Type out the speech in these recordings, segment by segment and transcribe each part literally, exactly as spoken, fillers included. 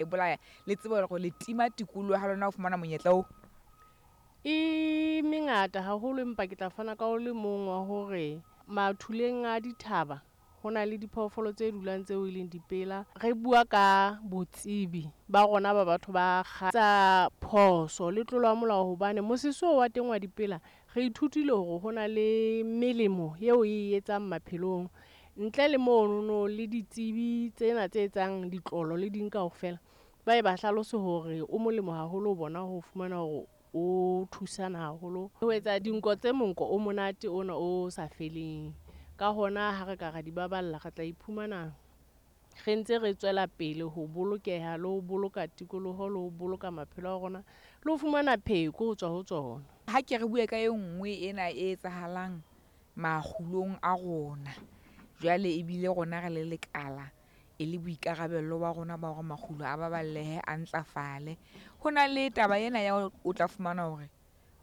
E bolaya le tsebe hore le tima tikoloho ha lona ho fumana monyetla oo. E mengata haholo, empa ke tla fana ka o le mong wa hore mathuleng a dithaba ho na le diphoofolo tse dulang tseo e leng dipela. Re bua ka botsebi ba rona ba batho ba tsa phoso le tlolo ya molao, hobane mosese oo wa teng wa dipela re ithutile hore ho na le melemo eo e etsang maphelong. Ntle le monono le ditsebi tsena tse etsang ditlolo le ding kaofela, ba e ba hlalose hore o molemo haholo ho bona ho fumana hore o thusana haholo ho etsa dinko tse monko o monate ona o sa feleng. Ka hona ha re ka ra di baballa, re tla iphumana re ntse re tswela pele ho bolokeha le ho boloka tikoloho le ho boloka maphelo a rona le ho fumana pheko ho tswa ho tsona. Ha ke re bue ka e nngwe ena e etsahalang makgulong a rona. Jwale ebile rona re le lekala e le boikarabello ba rona ba hore makgulo a baballehe, a ntlafale. Ho na le taba ena ya hore o tla fumana hore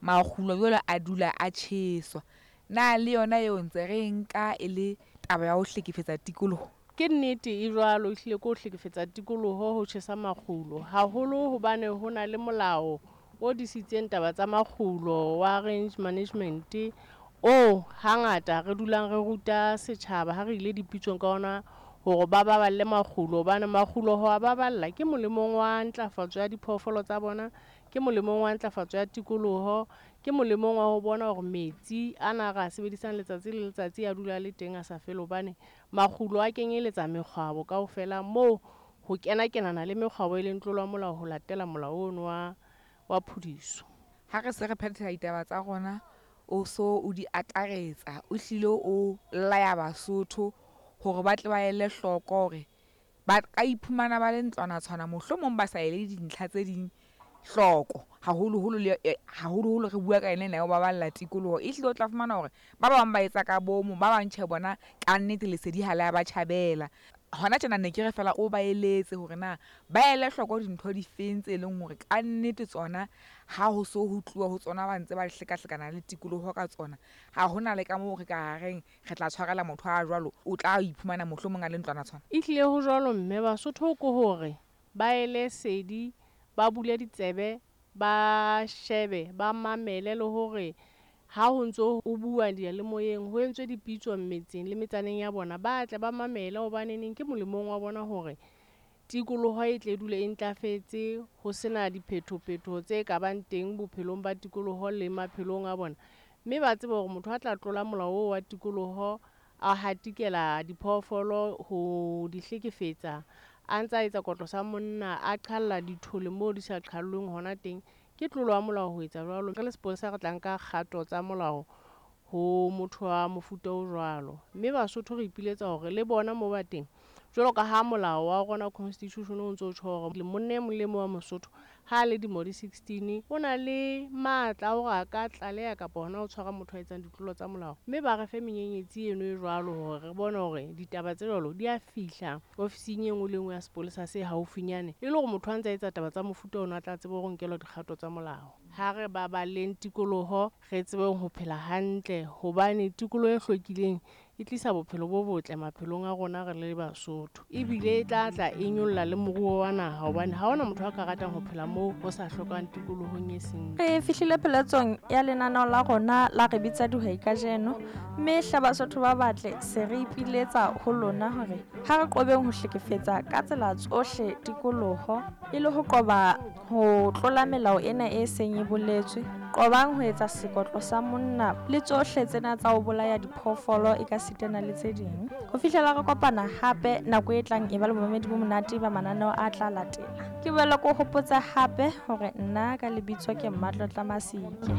makgulo jwale a dula a tjheswa. Na le yona eo ntse re e nka e le taba ya ho hlekefetsa tikoloho? Ke nnete e jwalo, ehlile ke ho hlekefetsa tikoloho ho tjhesa makgulo. Haholo hobane ho na le molao o disitseng taba tsa makgulo wa range management, oo hangata re dulang re ruta setjhaba ha re ile dipitsong ka ona hore ba baballe makgulo, hobane makgulo ho a baballa ke molemong wa ntlafatso ya diphoofolo tsa bona, ke molemong wa ntlafatso ya tikoloho, ke molemong wa ho bona hore metsi ana a re a sebedisang letsatsi le letsatsi a dula a le teng a sa fele, hobane makgulo a kenyeletsa mekgwabo kaofela moo ho kena-kenana le mekgwabo e leng tlolo ya molao ho latela molao ono wa, wa phudiso. Ha re se re phethela ditaba tsa rona, o so o di akaretsa, o hlile o laya Basotho hore ba tle ba ele hloko hore ba ka iphumana ba le ntlwana tshwana, mohlomong ba sa ele dintlha tse ding hloko. Haholoholo le haholoholo re bua ka yona ena ya ho baballa tikoloho. Ehlile o tla fumana hore ba bang ba etsa ka bomo, ba bang tjhe bona kannete lesedi ha le a ba tjhabela. Hona tjena ne ke re feela o ba eletse hore na ba ele hloko dintho difeng tse leng hore kannete tsona ha ho so ho tluwa ho tsona ba ntse ba hlekahlekana le tikoloho ka tsona. Ha hona le ka moo re ka reng re tla tshwarela motho a jwalo, o tla iphumana mohlomong a le ntlwana tshwana. Ehlile ho jwalo mme, Basotho ke hore ba ele sedi, ba bule ditsebe, ba shebe, ba mamele le hore ha ho ntso ho bua diyalemoyeng, ho entswe dipitso metseng le metsaneng ya bona, ba tle ba mamele hobaneneng ke molemong wa bona hore tikoloho e tle dule e ntlafetse, ho sena diphetho-phetho tse ka bang teng bophelong ba tikoloho le maphelong a bona. Mme ba tsebe hore motho a tla tlola molao oo wa tikoloho, a hatikela diphoofolo ho di hlekefetsa, a ntsa etsa kotlo sa monna, a qhalla dithole moo di sa qhallweng hona teng, ke tlolo ya molao ho etsa jwalo. Re le sepolesa re tla nka kgato tsa molao ho motho wa mofuta o jwalo. Mme Basotho re ipiletsa hore le bona moo ba teng, jwalo ka ha molao wa rona constitution o ntso tjho hore monna e mong le mong wa Mosotho ha a le dilemo di sixteen o na le matla a hore a ka tlaleha kapa hona ho tshwara motho a etsang ditlolo tsa molao. Mme ba re fe menyenyetsi eno e jwalo hore re bone hore ditaba tse jwalo di a fihla ofising e nngwe le e nngwe ya sepolesa se haufinyane, e le hore motho a ntse a etsa taba tsa mofuta ono a tla tsebe hore o nkelwa dikgato tsa molao. Ha re baballeng tikoloho, re tsebeng ho phela hantle, hobane tikoloho e hlwekileng e tlisa bophelo bo botle maphelong a rona re le Basotho. Ebile e tla tla e nyolla le moruo wa naha, hobane ha hona motho a ka ratang ho phela moo ho sa hlokang tikolohong e seng. Re fihlile pheletsong ya lenaneo la rona la Re Bitsa Dihwai kajeno, mme hle Basotho ba batle se re ipiletsa ho lona hore ha re qobeng ho hlekefetsa ka tsela tsohle tikoloho e le ho qoba ho tlola melao ena e seng e boletswe. Qobang ho etsa sekotlo sa monna le tsohle tsena tsa ho bolaya diphoofolo e ka sitana le tse ding. Ho fihlela re kopana hape nako e tlang, e ba le bomamedi bo monate ba mananeo a tla latela. Ke boela ke o hopotsa hape hore nna ka lebitso ke Mmatlotla Masike.